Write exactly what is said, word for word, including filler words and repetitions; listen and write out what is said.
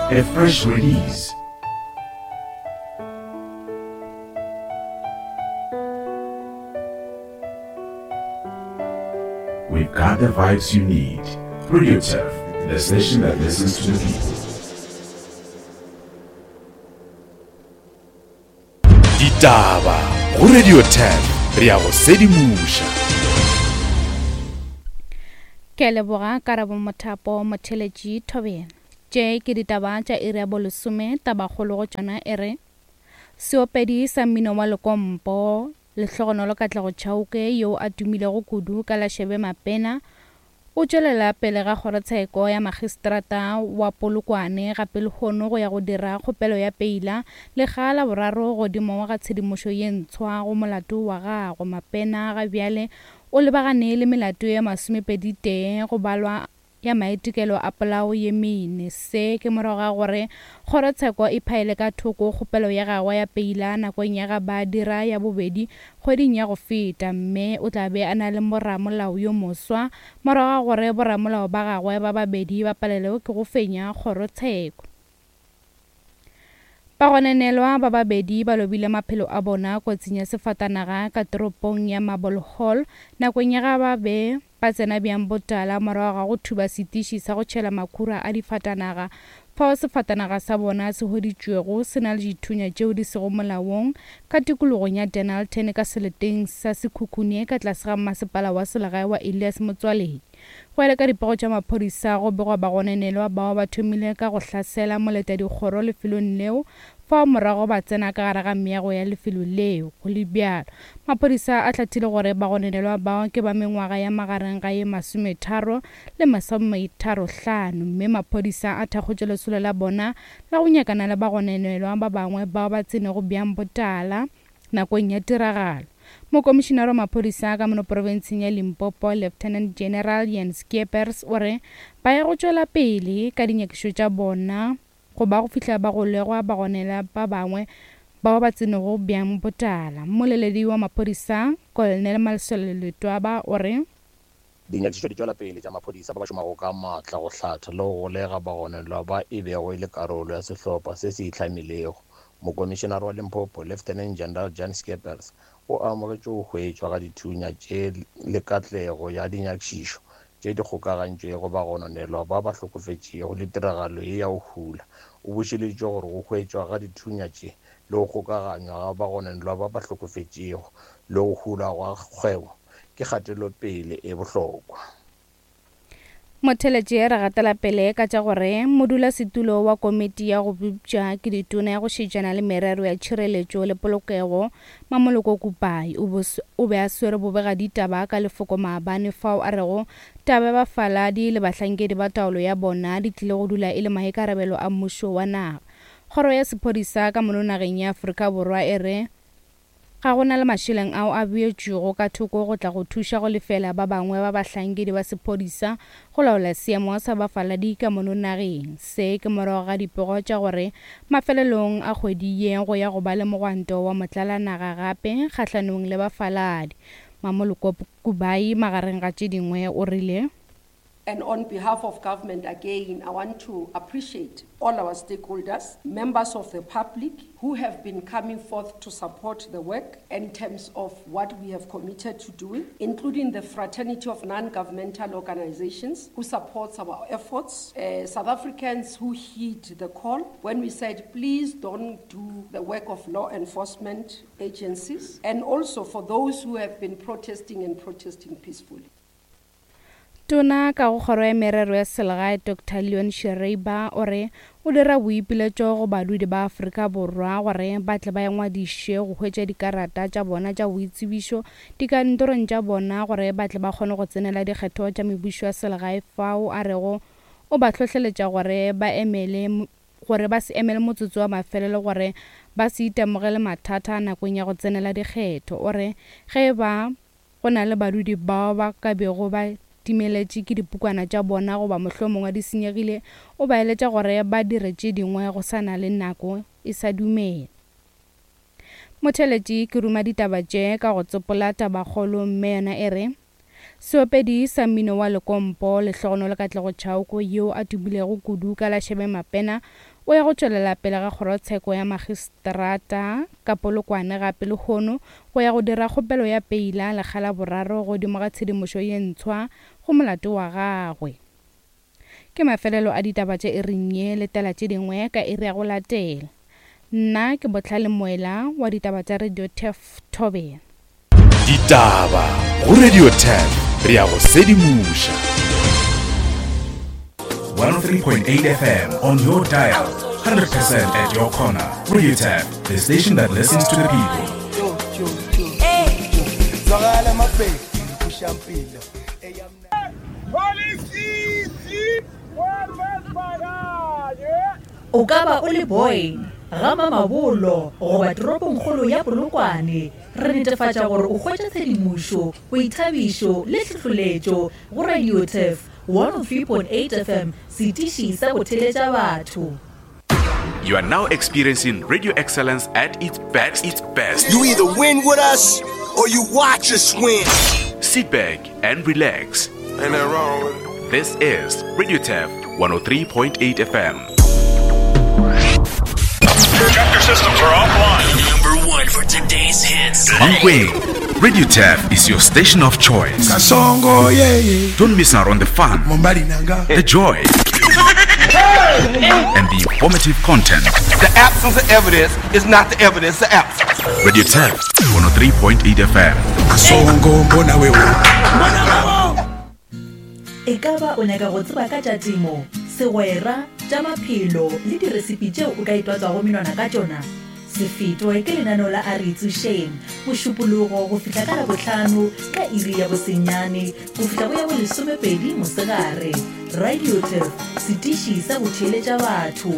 A fresh release. We've got the vibes you need. Radio Turf, the station that listens to the people. Ditaba go Radio Turf, re ya go sedimoša. Ke leboga Karabo Mothapo Motheletši Thobela. Tše ke ditaba tša iri ya bolesome, tabakgolo go tšona e re seopedi sa mmino wa lekompo Lehlogonolo Katlego Chauke yo a tumilego kudu ka la Shebe Mapena o tšwelela pele ga kgorotsheko ya magistrata wa Polokwane gape lehono go ya go dira kgopelo ya peila lekga la boraro godimo ga tshedimošo ye ntshwa go molato wa gagwe. Mapena ga bjale o lebagane le melato ye masomepedi tee go balwa ya maitekelo a polao ye mene. Se ke morago ga gore kgorotsheko e phaele ka thoko kgopelo ya gagwe ya peila nakong ya ga ba dira ya bobedi kgweding ya go feta, mme o tla be a na le moramolao yo moswa morago ga gore boramolao ba gagwe ba babedi ba palelwe ke go fenya kgorotsheko. Bagononelwa ba babedi ba lobile maphelo a bona kotsing ya sefatanaga ka toropong ya Marble Hall nakong ya ga ba be ba tsena bjang botala morago ga go thuba setiši sa go tšhela makhura a difatanaga fao sefatanaga sa bona se hweditšwego se na le dithunya tšeo di sego molaong ka tikologong ya Dennilton ka seleteng sa Sekhukhune ka tlase ga masepala wa selegae wa Elias Motswaledi. Go ya le ka dipego tša maphodisa go begwa bagononelwa bao ba thomile ka go hlasela moletadikgoro lefelong leo fao morago ba tsena ka gare ga meago ya lefelo leo. Go le bjalo, maphodisa a hlathile gore bagononelwa bao ke ba mengwaga ya magareng ga ye masometharo le masometharo-hlano, mme maphodisa a thakgotše lesolo la bona la go nyakana le bagononelwa ba bangwe bao ba tsenego bjang botala nakong ya tiragalo. Mokomišenare wa maphodisa ka mono profenseng ya Limpopo Lieutenant General Jens Skeepers o re ba ya go tšwela pele ka dinyakišo tša bona go ba go fihla ba golegwa bagonela ba bangwe bao ba tsenego bjang botala. Mmoleledi wa maphodisa Colonel Malesela Letwaba o re dinyakišišo di tšwela pele tša maphodisa ba ba šomago ka maatla go hlatha le go golega bagonelwa ba e bego e le karolo ya sehlopha se se itlhamilego. Mokomišenare wa Limpopo Lieutenant General Jan Skeepers o amogetše go hwetšwa ga dithunya tše le katlego ya dinyakišišo tše di kgokagantšwego bagononelwa ba ba hlokofetšego le tiragalo ye ya go hula. O bušeleditše gore go hwetšwa ga dithunya tše le go kgokaganywa ga bagononelwa ba ba hlokofetšego le go hula gwa kgwebo ke kgatelopele e bohlokwa. Motheletši re gatela pele ka tša gore modulasetulo wa komiti ya go bopša ke ditona ya go šetšana le merero ya tšhireletšo le polokego Mamoloko Kupai o be a swere bobegaditaba ka lefoko maabane fao a rego taba ya bafaladi le bahlankedi ba taolo ya bona di tlile go dula e le maikarabelo a mmušo wa naga. Kgoro ya sephodisa ka mono nageng ya Afrika Borwa e re ga go na le mašeleng ao a beetšwego ka thoko go tla go thuša go lefela ba bangwe ba bahlankedi ba sephodisa go laola seemo sa bafaladi ka mono nageng. Se ke morago ga dipego tša gore mafelelong a kgwedi ye go ya go ba le mogwanto wa motlalanaga gape kgahlanong le bafaladi. Mamoloko Kubai magareng ga tše dingwe o rile And on behalf of government, again, I want to appreciate all our stakeholders, members of the public who have been coming forth to support the work in terms of what we have committed to doing, including the fraternity of non-governmental organizations who supports our efforts, uh, South Africans who heed the call when we said, please don't do the work of law enforcement agencies, and also for those who have been protesting and protesting peacefully. Tona ka go kgoro ya merero ya selegae Doctor Leon Schreiber o re o dira boipiletšo go badudi ba Afrika Borwa gore ba tle ba ingwadiše go hwetša dikarata tša bona tša boitsebišo dikantorong tša bona gore ba tle ba kgone go tsenela dikgetho tša mebušo ya selegae fao a rego o ba hlohleletša gore ba emele gore ba se emele motsotso wa mafelelo gore ba se itemogele mathata nakong ya go tsenela dikgetho. O re ge ba go na le badudi bao ba ka bego ba timeletše ke dipukwana tša bona goba mohlomongwe di senyegile, o ba eletša gore ba dire tše dingwe go sa na le nako e sa dumela. Motheletši ke ruma ditaba tše ka go tsopola tabakgolo mme yona e re Seopedi sa mmino wa lekompo Lehlogonolo Katlego Chauke yo a tumilego kudu ka la Shebe Mapena o ya go tšwelela pele ga kgorotsheko ya magistrata ka Polokwane gape lehono go ya go dira kgopelo ya peila lekga la boraro godimo ga tshedimošo ye ntshwa go molato wa gagwe. Ke mafelelo a ditaba tša iring ye letela tše dingwe ka iri ya go latela. Nna ke Bohlale Moela wa ditaba tša Radio Turf Thobela. Ditaba go Radio Turf re ya go sedimoša. one oh three point eight F M on your dial, one hundred percent at your corner. Radio Turf, the station that listens to the people. O ka ba o le boy ga Mamabolo goba toropongkgolo ya Polokwane, re netefatša gore o hwetša tshedimošo, boithabišo le tlhohleletšo go Radio Turf one oh three point eight F M, setiši sa go theletša batho. You are now experiencing radio excellence at its best. Its best. You either win with us or you watch us win. Sit back and relax. Ain't that wrong with it? This is Radio Turf one oh three point eight F M. Chapter systems are offline. Number one for today's hits. Mankweng, Radio Turf is your station of choice. Kasongo, yeah, yeah. Don't miss out on the fun, the joy, and the informative content. The absence of evidence is not the evidence of absence. Radio Turf one oh three point eight F M. Kasongo, mbona wewe. E ka ba o nyaka go tseba ka tša temo, segwera, tša maphelo le diresipi tšeo o ka itwatswago menwana ka tšona? Se fetwe ke lenaneo la A Re Itsošeng, Mošupologo go fihla ka Labohlano ka iri ya bosenyane go fihla go ya bolesomepedi mosegare. Radio Turf, setiši sa go theeletša batho.